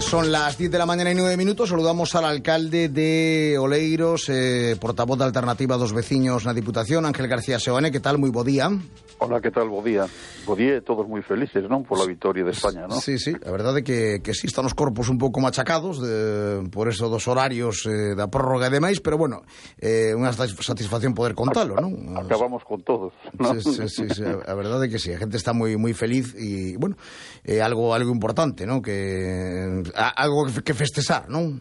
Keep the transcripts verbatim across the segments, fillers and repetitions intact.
Son las diez de la mañana y nueve minutos. Saludamos al alcalde de Oleiros, eh, portavoz da Alternativa dos Veciños na Diputación, Ángel García Seoane. Que tal? Moi bo día. Hola, que tal? Bo día. Bo día e todos moi felices, non? Pola vitoria de España, non? Sí, sí, a verdade é que, que sí están os corpos un pouco machacados de, por eso dos horarios eh, da prórroga e demais, pero bueno, eh, unha satisfacción poder contalo, non? Acabamos con todos, non? Sí, sí, sí, sí, a verdade é que sí, a gente está moi moi feliz e, bueno, é eh, algo algo importante, non? Que algo que festexar, non?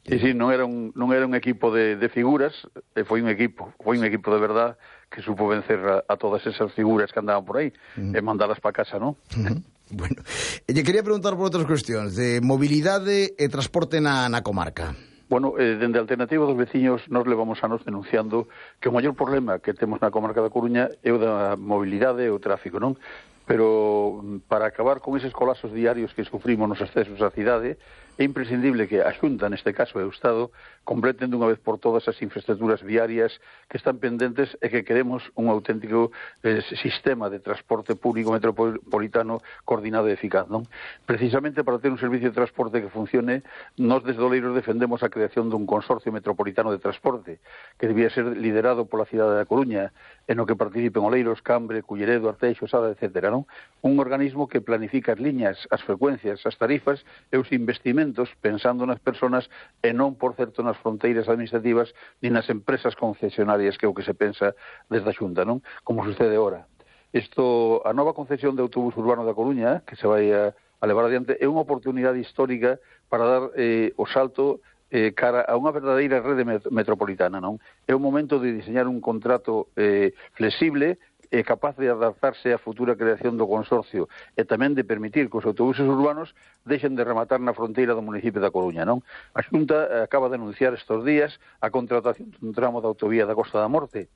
Sí, sí, non era un, non era un equipo de, de figuras, e foi un equipo, foi un equipo de verdad que supo vencer a, a todas esas figuras que andaban por aí, uh-huh. e mandalas para casa, non? Uh-huh. Bueno, e lle quería preguntar por outras cuestións de mobilidade e transporte na, na comarca. Bueno, eh, dende a Alternativa dos Veciños nos levamos anos denunciando que o maior problema que temos na comarca da Coruña é o da mobilidade e o tráfico, non? Pero para acabar con eses colapsos diarios que sufrimos nos accesos á cidade, é imprescindible que a Xunta, neste caso o Estado, completen dunha vez por todas as infraestructuras viarias que están pendentes e que queremos un auténtico eh, sistema de transporte público metropolitano coordinado e eficaz, non? Precisamente para ter un servicio de transporte que funcione, nós desde Oleiros defendemos a creación dun consorcio metropolitano de transporte que debía ser liderado pola cidade da Coruña, en o que participen Oleiros, Cambre, Culleredo, Arteixo, Sada, etcétera, non? Un organismo que planifica as liñas, as frecuencias, as tarifas e os investimentos pensando nas persoas e non, por certo, nas fronteiras administrativas ni nas empresas concesionarias, que é o que se pensa desde a Xunta, non? Como sucede ahora. Isto, a nova concesión de autobús urbano da Coruña, que se vai a, a levar adiante, é unha oportunidade histórica para dar eh, o salto eh, cara a unha verdadeira rede met metropolitana, non? É o momento de diseñar un contrato eh, flexible é capaz de adaptarse á futura creación do consorcio e tamén de permitir que os autobuses urbanos deixen de rematar na fronteira do municipio da Coruña, non? A Xunta acaba de anunciar estes días a contratación dun tramo da autovía da Costa da Morte,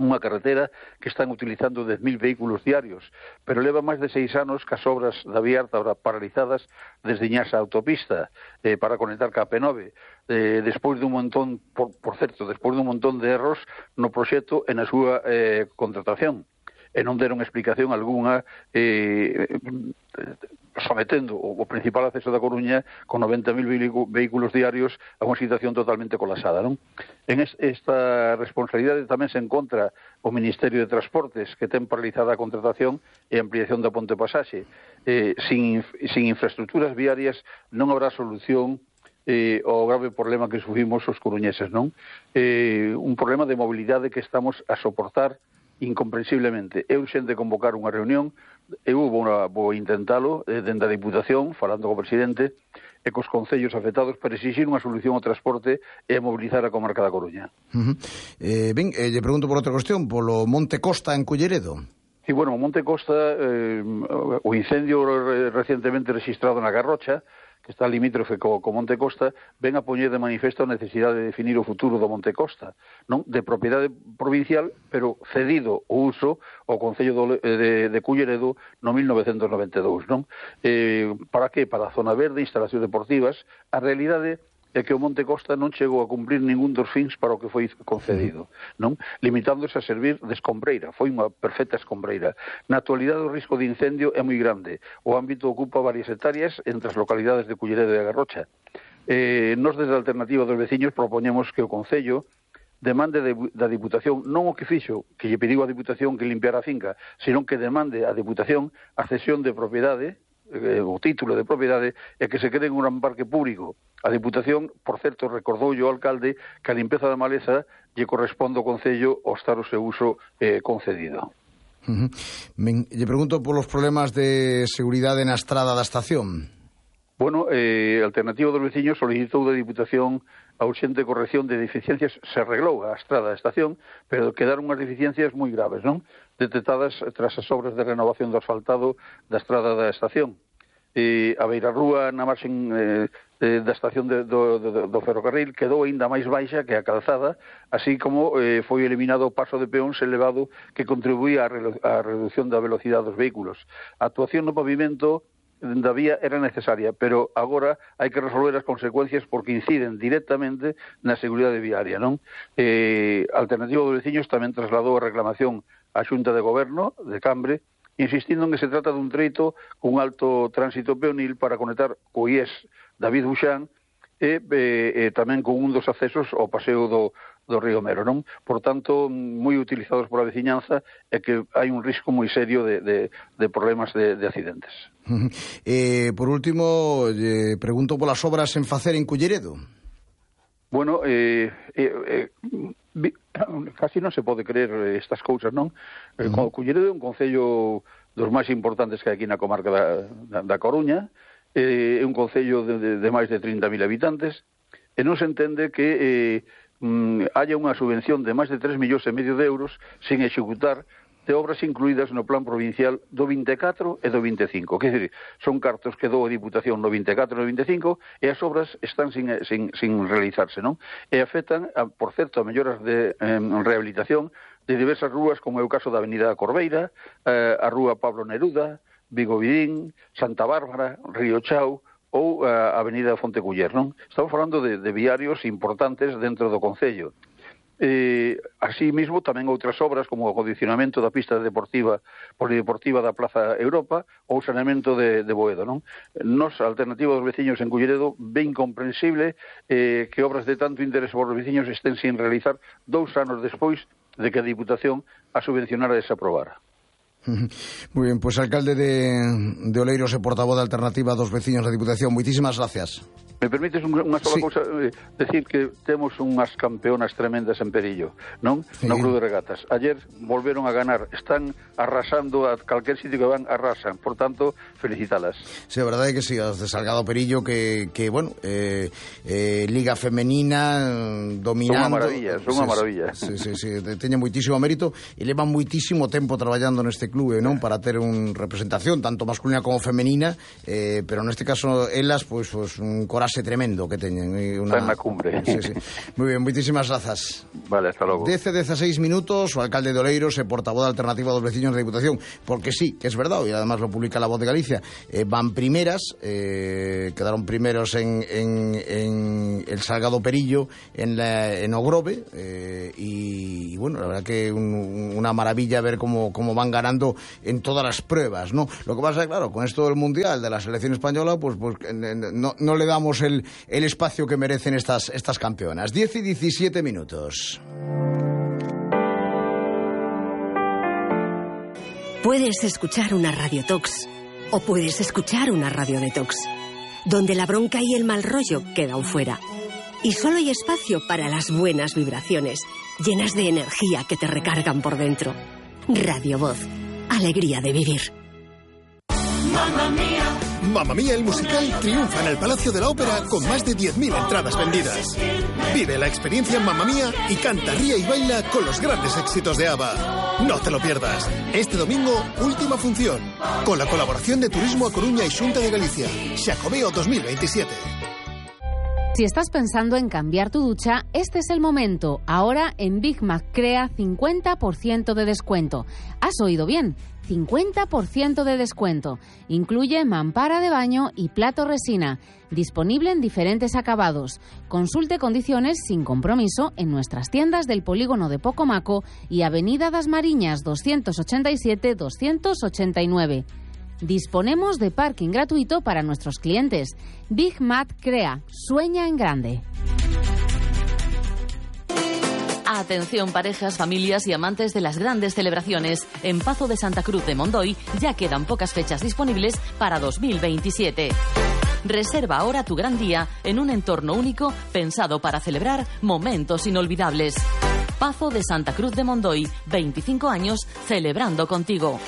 unha carretera que están utilizando dez mil vehículos diarios, pero leva máis de seis anos que as obras da vía alta paralizadas desde Iñasa a autopista eh, para conectar ca P nove, eh, despois dun montón, por, por certo, despois dun montón de erros no proxecto e na súa eh, contratación, e non deron explicación algunha eh, sometendo o principal acceso da Coruña con noventa mil vehículos diarios a unha situación totalmente colapsada, non? En esta responsabilidade tamén se encontra o Ministerio de Transportes, que ten paralizada a contratación e ampliación da Ponte Pasaxe. Eh, sin, sin infraestructuras viarias non habrá solución eh, ao grave problema que sufrimos os coruñeses, non? Eh, un problema de mobilidade que estamos a soportar incomprensiblemente. É urxente convocar unha reunión, eu vou, vou intentalo eh, dende a Diputación, falando co presidente e cos concellos afectados para exigir unha solución ao transporte e a mobilizar a comarca da Coruña. Uh-huh. eh, ben, eh, lle pregunto por outra cuestión, polo Monte Costa en Culleredo. Sí, bueno, o Monte Costa, eh, o incendio recientemente registrado na Garrocha, que está limítrofe co, co Monte Costa, ven a poñer de manifesto a necesidade de definir o futuro do Monte Costa, non? De propiedade provincial, pero cedido o uso ao Concello de, de, de Culleredo no mil novecentos noventa e dous, non? Eh, para que? Para a zona verde, instalacións deportivas. A realidade é que o Monte Costa non chegou a cumprir ningún dos fins para o que foi concedido, non? Limitándose a servir de escombreira, foi unha perfecta escombreira. Na actualidade o risco de incendio é moi grande, o ámbito ocupa varias hectáreas entre as localidades de Culleredo e a Garrocha. Eh, nos desde a Alternativa dos Veciños propoñemos que o Concello demande de, da Diputación, non o que fixo, que lle pediu a Diputación que limpiara a finca, senón que demande a Diputación a cesión de propiedade, eh, o título de propiedade, e que se quede en un gran parque público. A Diputación, por certo, recordou o alcalde que a limpeza da maleza lle corresponde ao Concello ao estar o seu uso eh, concedido. Uh-huh. Ben, lle pregunto polos problemas de seguridade na estrada da estación. Bueno, eh, a Alternativa dos Veciños solicitou da Diputación a urxente corrección de deficiencias. Se arreglou a estrada da estación, pero quedaron unhas deficiencias moi graves, non? Detectadas tras as obras de renovación do asfaltado da estrada da estación. Eh, a beirarrúa na marxen eh, eh, da estación de, do, do, do ferrocarril quedou aínda máis baixa que a calzada, así como eh, foi eliminado o paso de peóns elevado que contribuía á reducción da velocidade dos vehículos. A actuación no pavimento da vía era necesaria, pero agora hai que resolver as consecuencias porque inciden directamente na seguridade viaria, non? Eh, a Alternativa dos Veciños tamén trasladou a reclamación á Xunta de Goberno de Cambre insistindo en que se trata dun treito con alto tránsito peonil para conectar co I E S David Buxán e, e, e tamén con un dos accesos ao paseo do, do Río Mero, non? Por tanto, moi utilizados pola veciñanza e que hai un risco moi serio de, de, de problemas de, de accidentes. Eh, por último, eh, pregunto polas obras en facer en Culleredo. Bueno, eh, eh, eh, casi non se pode creer estas cousas, non? Uh -huh. Culleredo é un concello dos máis importantes que hai aquí na comarca da, da, da Coruña, é un concello de, de, de máis de trinta mil habitantes, e non se entende que eh, mm, haya unha subvención de máis de tres millóns e medio de euros sin executar de obras incluídas no plan provincial do vinte e catro e do vinte e cinco. Quer dizer, son cartos que dou a Diputación no vinte e catro e no vinte e cinco e as obras están sin, sin, sin realizarse, non? E afectan, a, por certo, a melloras de eh, rehabilitación de diversas rúas, como é o caso da Avenida Corbeira, eh, a Rúa Pablo Neruda, Vigo Vidín, Santa Bárbara, Río Chao ou a Avenida Fonteculler, non? Estamos falando de, de viarios importantes dentro do concello. Eh, así mismo tamén outras obras como o acondicionamento da pista deportiva polideportiva da Plaza Europa ou o saneamento de, de Boedo, non? Nos, a Alternativa dos Veciños en Culleredo, ben comprensible eh, que obras de tanto interés por os veciños estén sin realizar dous anos despois de que a Diputación a subvencionara e se aprobara. Muy bien, pues alcalde de, de Oleiros e portavoz da Alternativa dos Veciños da Diputación, moitísimas gracias. Me permites unha sola sí. cousa, eh, decir que temos unhas campeonas tremendas en Perillo, non? Sí. No Club de Regatas. Ayer volveron a ganar, están arrasando a calquer sitio que van, arrasan, por tanto, felicitalas. Sí, a verdade é que sí, as de Salgado Perillo que, que bueno, eh, eh, Liga Femenina dominando. Son unha maravilla, son unha maravilla. Sí, sí, sí, teñen moitísimo mérito e levan moitísimo tempo traballando neste clube, non? Para ter un representación tanto masculina como femenina, eh, pero neste caso elas, pois, pues, pues, un coraxe tremendo que teñen. Una... Está na cumbre. Sí, sí. Muy bien, moitísimas grazas. Vale, hasta logo. Dece dezasseis minutos, o alcalde de Oleiros e portavoz da Alternativa dos Veciños da Diputación, porque sí, que es verdad, e además lo publica La Voz de Galicia, eh, van primeras, eh, quedaron primeros en, en, en el Salgado Perillo, en, la, en Ogrove, eh, y, y bueno, la verdad que un, una maravilla ver cómo, cómo van ganando en todas las pruebas, ¿no? Lo que pasa es, claro, con esto del Mundial, de la selección española, pues, pues no, no le damos el, el espacio que merecen estas, estas campeonas. diez y diecisiete minutos. Puedes escuchar una radiotox o puedes escuchar una radio detox, donde la bronca y el mal rollo quedan fuera. Y solo hay espacio para las buenas vibraciones, llenas de energía que te recargan por dentro. Radio Voz. Alegría de vivir. Mamma Mía. Mamma Mía, el musical, triunfa en el Palacio de la Ópera con más de diez mil entradas vendidas. Vive la experiencia en Mamma Mía y canta, ríe y baila con los grandes éxitos de ABBA. No te lo pierdas. Este domingo, última función, con la colaboración de Turismo a Coruña y Xunta de Galicia. Xacobeo dos mil veintisiete. Si estás pensando en cambiar tu ducha, este es el momento. Ahora en Big Mac Crea cincuenta por ciento de descuento. ¿Has oído bien? cincuenta por ciento de descuento. Incluye mampara de baño y plato resina. Disponible en diferentes acabados. Consulte condiciones sin compromiso en nuestras tiendas del polígono de Pocomaco y Avenida das Mariñas doscientos ochenta y siete doscientos ochenta y nueve. Disponemos de parking gratuito para nuestros clientes. Big Mac Crea. Sueña en grande. Atención parejas, familias y amantes de las grandes celebraciones. En Pazo de Santa Cruz de Mondoy ya quedan pocas fechas disponibles para dos mil veintisiete. Reserva ahora tu gran día en un entorno único pensado para celebrar momentos inolvidables. Pazo de Santa Cruz de Mondoy, veinticinco años celebrando contigo.